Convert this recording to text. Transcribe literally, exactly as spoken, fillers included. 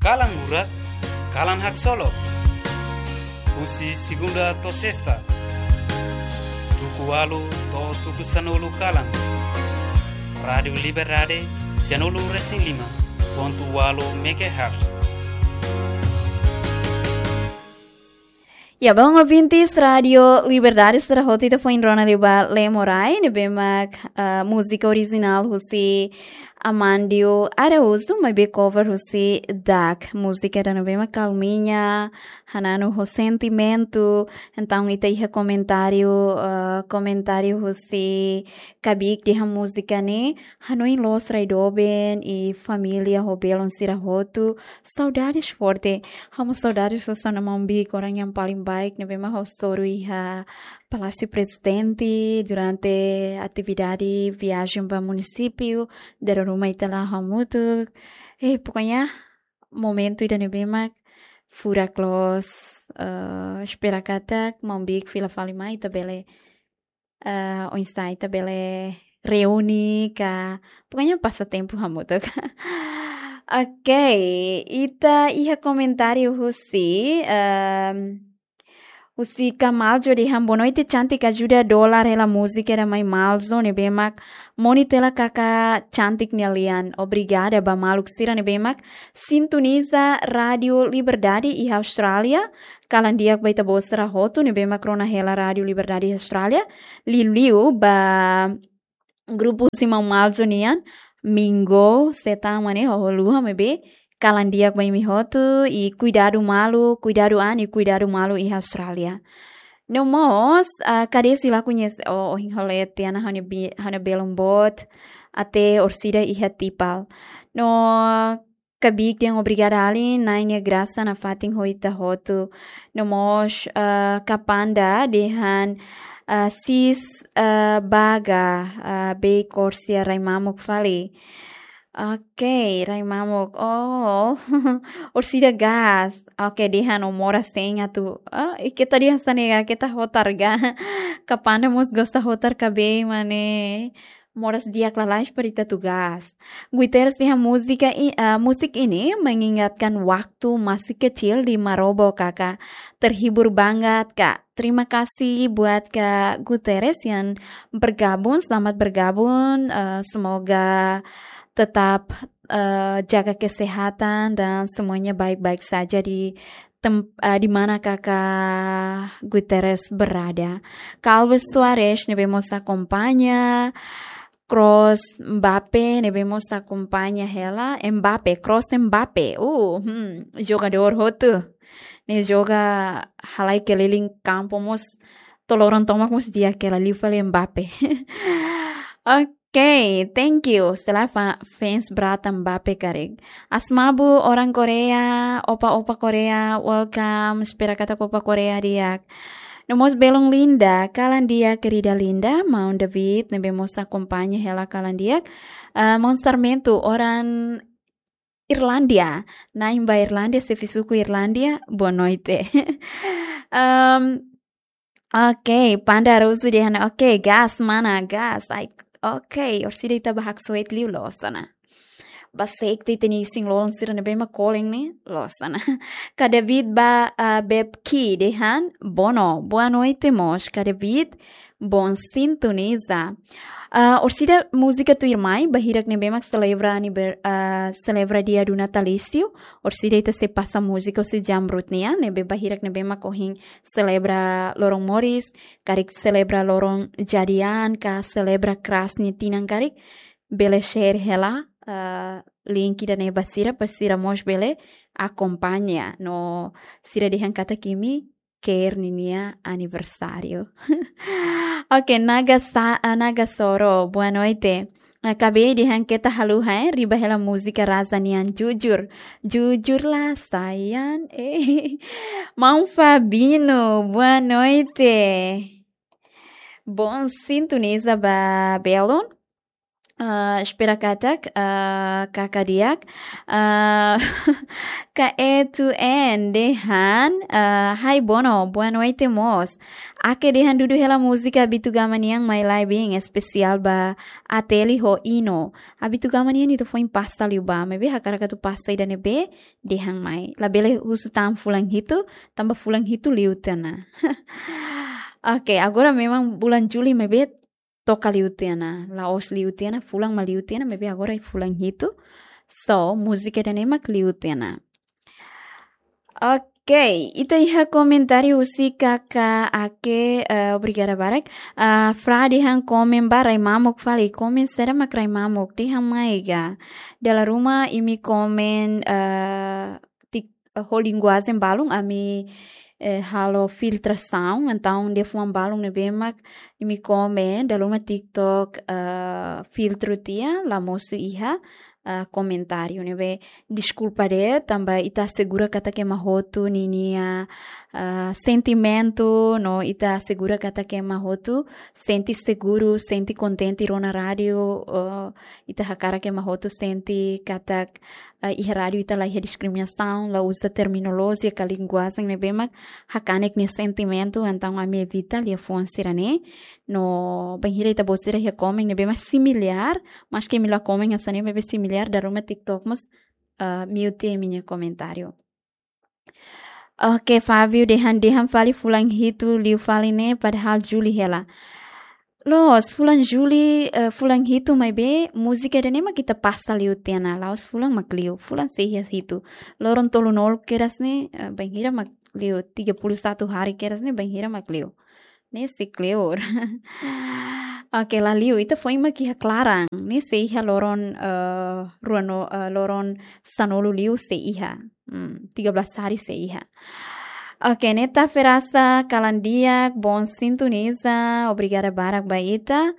Kalan Hurak, Kalan Haksolok. Husi segunda to'o sesta, tuku ualu to'o tuku sanulu kalan. Rádiu Liberdade, sianulu resin lima pontu ualu megahertz. Ya, bom ouvintes, Rádiu Liberdade sira hotu ita foin rona liu ba Lemorai, ne'ebé mak, ah, múzika orijinál husi Amandio Araújo, maibé cover husi Dak. Múzika ida ne'ebé mak kalminha, hananu ho sentimentu. Entaun ita iha komentáriu, ah, komentáriu husi Kabik dehan múzika ne'e hanoin loos rai doben i família ho belun sira hotu. Saudades forte. Ha'u mós saudades hasoru maun Bik, orang yang paling baik ne'ebé mak ha'u hasoru iha Palásiu Prezidente durante atividade viajen ba munisípiu, dala ruma ita la'o hamutuk. Eh, pokoknya momentu ida ne'ebé mak furak loos, eh, espera katak maun Bik fila fali mai ita bele, eh, oinsá ita bele reúne ka, pokoknya pasa tempu hamutuk. Oke, ita iha komentáriu husi, em, husi Kamaljo dehan boa noite, cantik ajuda dolar hela múzika ida mai Malzo ne'ebé mak moni tela kaka cantik nia lian. Obrigada ba maluk sira ne'ebé mak sintoniza Rádiu Liberdade iha Austrália. Kalan di'ak ba ita-boot sira hotu ne'ebé mak rona hela Rádiu Liberdade iha Austrália. Liuliu ba grupu husi maun Malzo nian, Mingo, Setama ne'e, ho Luha maibé, kalan di'ak ba imi hotu, i kuidadu malu, kuidadu an, i kuidadu malu iha Austrália. No mós, ah, kade sila koñese, oh, ohin ha'u lee tiha ona ha'u-nia bi-, ha'u-nia belun boot, até orsida iha Tipal. No Kabik dehan obrigada alin, Na'i nia grasa nafatin ho ita hotu. No mós, eh, Kapanda dehan, eh, sis, eh, baga, eh, bei korsia rai mamuk fali. Oke, rai mamuk. Oh, orsida gás. Oke, dehan ó moras hein atu. Ah, i keta dehan hanesan ne'e, keta hotar ga. Kapanda mós gosta hotar kabei mane. Moras di'ak lalais para ita atu gás. Guterres dehan múzika i-, ah, musik ini mengingatkan waktu masih kecil di Marobo, Kaka. Terhibur banget, Kak. Terima kasih buat Kak Guterres yang bergabung. Selamat bergabung. Eh, semoga tetap, eh, jaga kesehatan dan semuanya baik-baik saja di tem-, ah, di mana Kaka Guterres berada. Calves Soares ne'ebé mós akompaña, Kroos Mbappe ne'ebé mós akompaña hela, Mbappe, Kroos Mbappe. Uh, hmm, jogadór hotu. Ne'e joga halai keliling kampu mós, to'o loron tomak mós di'ak hela, liu fali Mbappe. Oke. Oke, thank you. Setelah fa-, fans Brata Mbappe karik. Asmabu orang Korea, opa-opa Korea, welcome. Espera katak opa Korea di'ak. No mós belun Linda, kalan di'ak, querida Linda, maun David, ne'ebé mós akompaña hela kalan di'ak. Eh, maun Sarmento, orang Irlandia. Nain ba Irlandia, xefe suku Irlandia, boa noite. Em, Oke, Panda Rusu dehan, oke, gás, mana, gás. Ai, oke, orsida ita ba haksoit liu loos ona. Ba sekte ita-nia isin-lolon sira ne'ebé mak kolen ne'e, loos ona. Kak David ba, ah, Bebki dehan, bono, boa noite mós, Kak David, bom sintoniza. Ah, orsida múzika tuirmai, ba hirak ne'ebé mak selebra aniver-, ah, selebra dia do natalício, orsida ita sei pasa múzika husi Jamrut nian, ne'ebé ba hirak ne'ebé mak ohin selebra loron moris, karik selebra loron jadi an, ka selebra kras nia tinan karik, bele share hela, eh, link ida-ne'e ba sira, para sira mós bele akompaña. No sira dehan katak imi ke'e ninia aniversáriu. Oke, Naga Sa-, eh, Naga Soro, boa noite. Eh, kabei dehan keta haluha, eh, riba hela múzika Raza nian jujur. Jujurlah sayang, eh. Maun Fabino, boa noite. Bom sintoniza ba belun. Ah, espera katak, ah, kaka di'ak. Ah, K E two N dehan, ah, "Hi Bono, boa noite mós." Ake dehan dudu hela múzika Habitu Gama nian mai lai bem espesiál ba Ateli ho Ino. Habitu Gama nian ita foin pasta liu ba, maibé hakarak atu pasta ida ne'ebé dehan mai. Labele husu tan fulan hitu, tanba fulan hitu liu tiha ona. Oke, agora memang bulan Juli maibé toka liu tiha ona. La'ós liu tiha ona, fulan mak liu tiha ona, maibé agora fulan hitu. So, múzika ida-ne'e mak liu tiha ona. Oke, ita iha komentáriu husi kaka Ake, eh, obrigada barak. Ah, Fra dehan komen ba rai mamuk fali, komen saida mak rai mamuk, dehan mai ga. Dala ruma imi komen, eh, tik, eh, ho linguajen balun, ami, eh, halo filtrasaun, entaun liafuan balun ne'ebé mak imi komen, dala ruma TikTok, eh, filtru tiha, la mosu iha, eh, komentáriu ne'ebé. Deskulpa de'it, tanba ita asegura katak ema hotu ninia, eh, sentimentu, no ita asegura katak ema hotu sente seguru, sente kontente rona rádiu, eh, ita hakarak ema hotu sente katak, eh, iha rádiu ita la iha diskriminasaun, la uza terminolojia ka linguajen ne'ebé mak hakanek nia sentimentu, entaun ami evita liafuan sira-ne'e. No bainhira ita-boot sira iha komen ne'ebé mak similár, maski imi la komen hanesan ne'e, maibé similár, dala ruma TikTok mós, eh, mute imi-nia komentáriu. Oke, Fábio dehan, dehan fali fulan hitu liu fali ne'e, padahal Juli hela. Loos, fulan Juli, eh, fulan hitu maibé múzika ida-ne'e mak ita pasta liu tiha ona, la'ós fulan mak liu, fulan sei iha hitu. Loron tolunulu kedas ne'e, eh, bainhira mak liu, tiga puluh satu hari kedas ne'e, bainhira mak liu. Ne'e sei kleur. Oke, la liu, ita foin mak iha klaran. Ne'e sei iha loron, eh, ruano, eh, loron sanulu liu sei iha. Hmm, tiga belas hari sei iha. Oke, Neta Ferasa, kalan di'ak, bom sintoniza, obrigada barak ba ita.